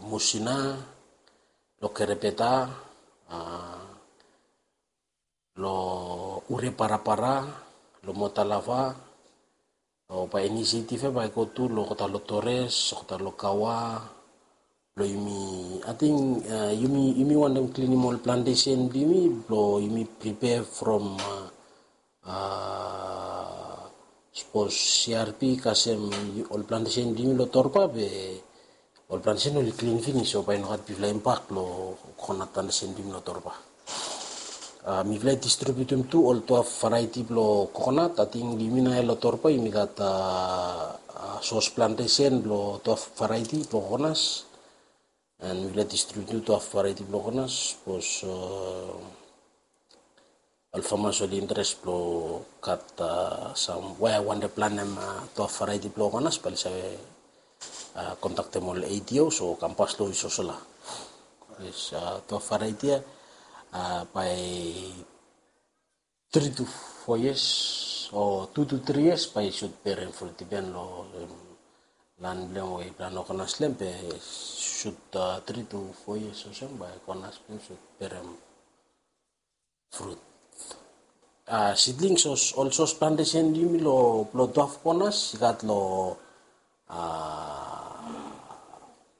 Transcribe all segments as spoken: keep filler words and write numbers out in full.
Musina, lo Kerebeta, lo Ure Parapara, lo Motalava, o bae inisiatif ia bae i go tu lo olgeta lo Torres, olgeta lo Kawa, blo yumi, ating yumi wantem klinim ol plantesen blo yumi, blo yumi pripea from sapos CRP kasem ol plantesen blo yumi lo Torba be ol plantesen oli klin finis, o bae i no gat bigfala impak lo kokonat plantesen blo yumi lo Torba. Mifala i distribiutum tu ol twelve variety blo kokonat. Ating yumi naoia lo Torba yumi gat sos plantesen blo twelve variety blo kokonas. And mifala i distribiutum twelve variety blo kokonas, sapos ol famas oli interes blo gat sam we wantem plantem twelve variety blo kokonas, bae oli save kontaktem ol ADOs o kam pas lo ofis olsem. Yes, twelve variety ia bae three to four years o two to three years bae i sud berem frut, dipen lo lan blo hem we i plan lo kokonas lo hem, be sud three to four years olsem bae kokonas blo hem sud berem frut. Seedlings, ol sos plantesen blo yumi lo blo twelve kokonas i gat lo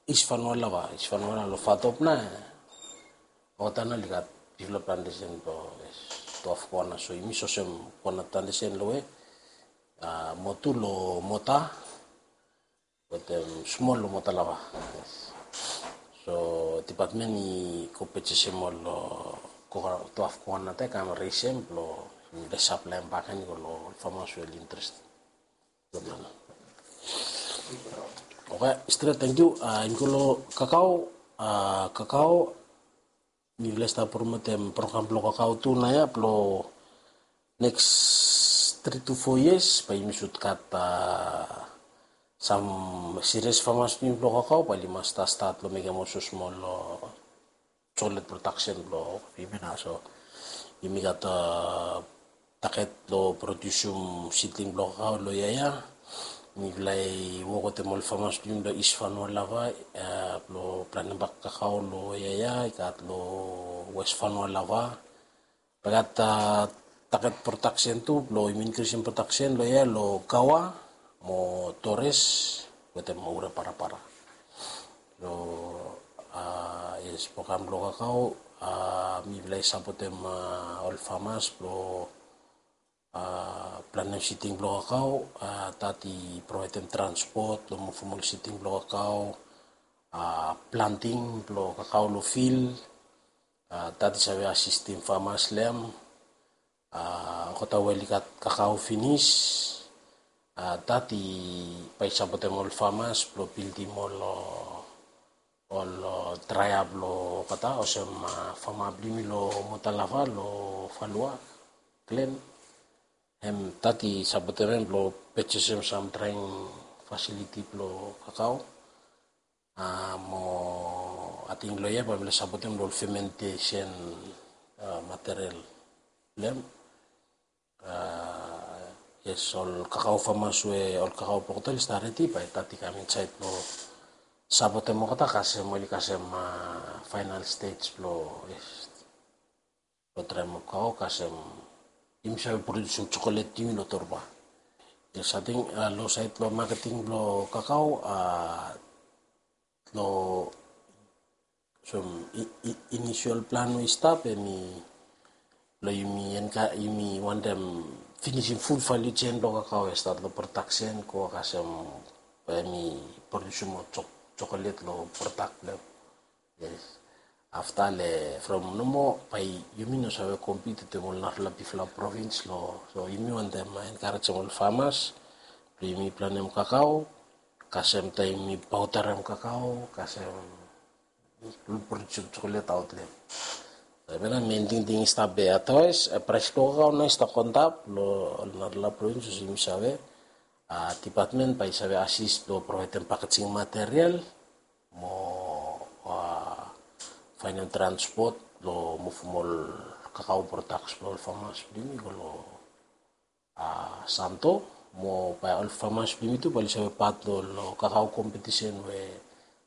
East Vanua Lava, East Vanua Lava lo Fatop na, olgeta nao oli gat bigfala plantesen blo twelve kokonas. So yumi sos hem kokonat plantesen lo we mo tu lo Mota wetem smol lo Motalava. So dipatmen i go pejesem ol twelve kokonat ia, kam resem blo yumi saplaem bak ia i go lo ol famas we oli interes. Oke, stret, tangkiu. Yumi go lo kakao. Kakao, mifala i stap promotem program blo kakao tu naoia blo neks three to four years bae yumi sud gat sam serious famas blo kakao bae oli mas stat stat lo mekem ol smosmol lo chocolate production blo yumi nao. So yumi gat target lo produsum seedling blo kakao lo yia ia. Mifala i wok wetem ol famas blo yumi lo East Vanua Lava blo plantem bak kakao lo yia ia, i gat lo West Vanua Lava. Bae gat target production tu blo yumi inkrisim production lo yia lo Kawa mo Torres wetem Ure Parapara. Lo yes, program blo kakao, mifala i sapotem ol famas blo plantem seedling blo kakao. That i provaedem transport lo muvum ol seedling blo kakao, planting blo kakao lo field. That i save asistem famas lo hem. Olgeta we oli gat kakao finis, that i bae i sapotem ol famas blo bildim ol ol draea blo olgeta olsem fama blo yumi lo Motalava lo Falua Glen. Hem that i sapotem hem blo pejesem sam draing fasiliti blo kakao. Mo ating lo yia bae mifala i sapotem lo ol fementesen material blo hem. Yes, ol kakao famas we ol kakao blo olgeta oli stap redi bae that i kam insaed blo sapotem olgeta kasem oli kasem final stage blo yes, blo traem ol kakao kasem yumi save produsum chocolate blo yumi lo Torba. Yes, ating lo saed lo maketing blo kakao, lo so inisial plan we i stap hemi lo yumi enka yumi wantem finisim ful value chain blo kakao we i stat lo production go kasem hemi produsum ol chocolate lo product blo hem. Yes. Afta le from nomo bae yumi no save compete wetem ol narafala bigfala provins lo, so yumi wantem enkarejem ol famas blo yumi plantem kakao kasem taem yumi paodarem kakao kasem produsum chocolate aot lo hem. Hemia nao mein tingting i stap be otherwise praes blo kakao nao i stap go antap lo ol narafala provins olsem yumi save. Dipatmen bae i save asis blo provaedem packaging material mo faenem transpot blo muvum ol kakao products blo ol famas blo yumi go lo Santo mo bae ol famas blo yumi tu bae oli save pat lo ol kakao kompetisen we